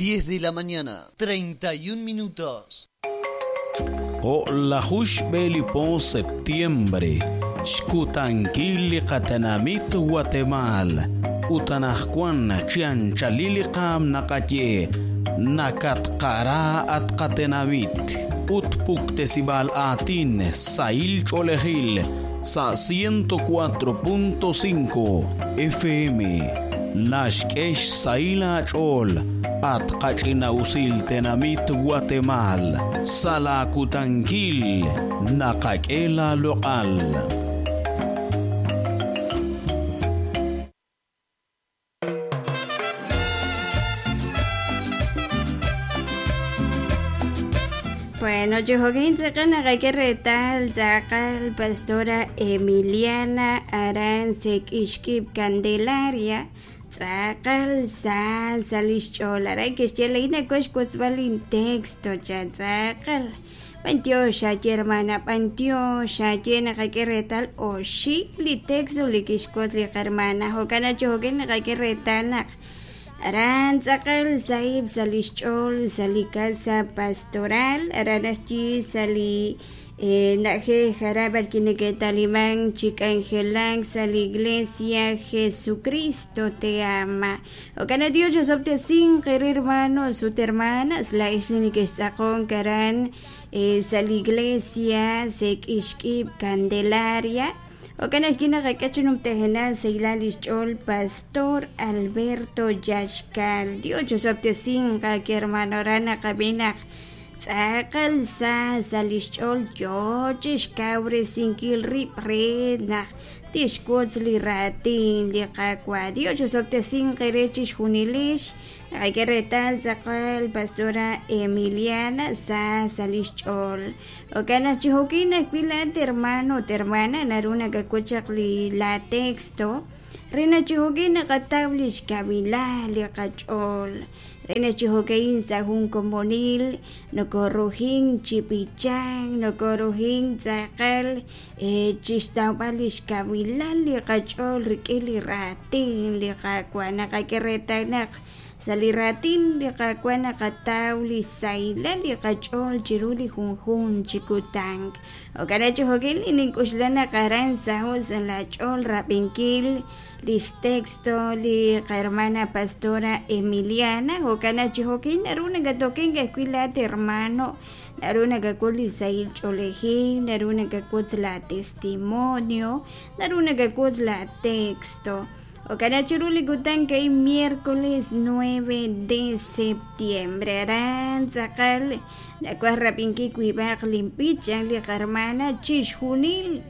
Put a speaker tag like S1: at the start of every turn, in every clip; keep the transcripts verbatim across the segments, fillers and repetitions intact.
S1: diez de la mañana, treinta y un minutos.
S2: O'lajush belipo septiembre, xkutankil li qatenamit Guatemala, utanajkuan chianchalili qam naqaye, nakatqara at qatenamit, utpuktesibal atin sail cholejil, sa ciento cuatro punto cinco F M, Nashkesh saila chol, at qachina usil tenamit Guatemala, salakutankil, naqakela local.
S3: Bueno, yo retal tzakal pastora Emiliana Arance Kishkip Candelaria tzakal sa salish cholara que xyeleina kox kotzbalin texto cha tzakal pantio xa hermana pantio xa naqake retal oxik li texto li kixkotz li hermana jokana chojokin naqake retal naq aran tzakal saib salishchol sali casa pastoral aranachchi sali naje jarabar kineketalimán chicangelang sali iglesia Jesucristo te ama. Okana Dios yo sobte sin querer hermanos su hermanas la isla que sacón karan sali iglesia sek ishkib Candelaria. Okana esquina rakachunum tejena seilalichol pastor Alberto Yashkal. Dios yo sobte sin que hermano rana cabina. Tzakal sa salichol yochish kabre sinkil rip rena. Tishkotzli ratin li kakwa. Dios yo sobte sin querechish junilish. Retal tzakal pastora Emiliana sa salichol. Okana chihokina kwilat hermano hermana naruna kakuchakli la texto. Rena chihokina katablish kabila li kachol. Rena chihokein sahun komonil, nokorujin chipichang, nokorujin tzakal, chistawalish kabila li kachol rikili ratin li kakwa nakakeretanak. Saliratin li kakwana katawli saila li kachol chiruli junjun chikutang. Okana chihokin ininkushlana karan sahus la chol rapinkil lis texto li hermana pastora Emiliana. Okana chihokin naruna gatokin gakuilat hermano naruna gakuli sail cholejin naruna gakutz la testimonio naruna gakutz la texto. Okana chiruli kutan kay miércoles nueve de septiembre. Aran tzakal nakuah rapinki kuibaq limpichan li hermana chixjunil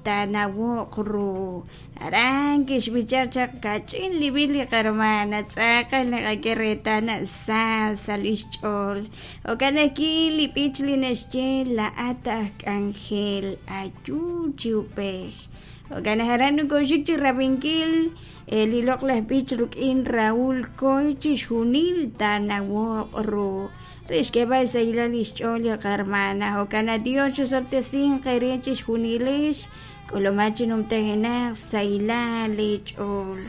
S3: tanawok ru. Aran kixbichachaq kachin libil li hermana tzakal nakakeretana sa salixch'ol. Okana ki lipich li nexche la ataj k'anjel ayu chiupej. Okana haran nukoxik chi rapinkil el ilok las bich rukin Raúl Koy chixjunil tanawok ru. Rixkeba saila lixch'ol li hermana. Okana Dios chusoptesin qere chixjunilix k'olomachi numtejenaq saila lich'ol.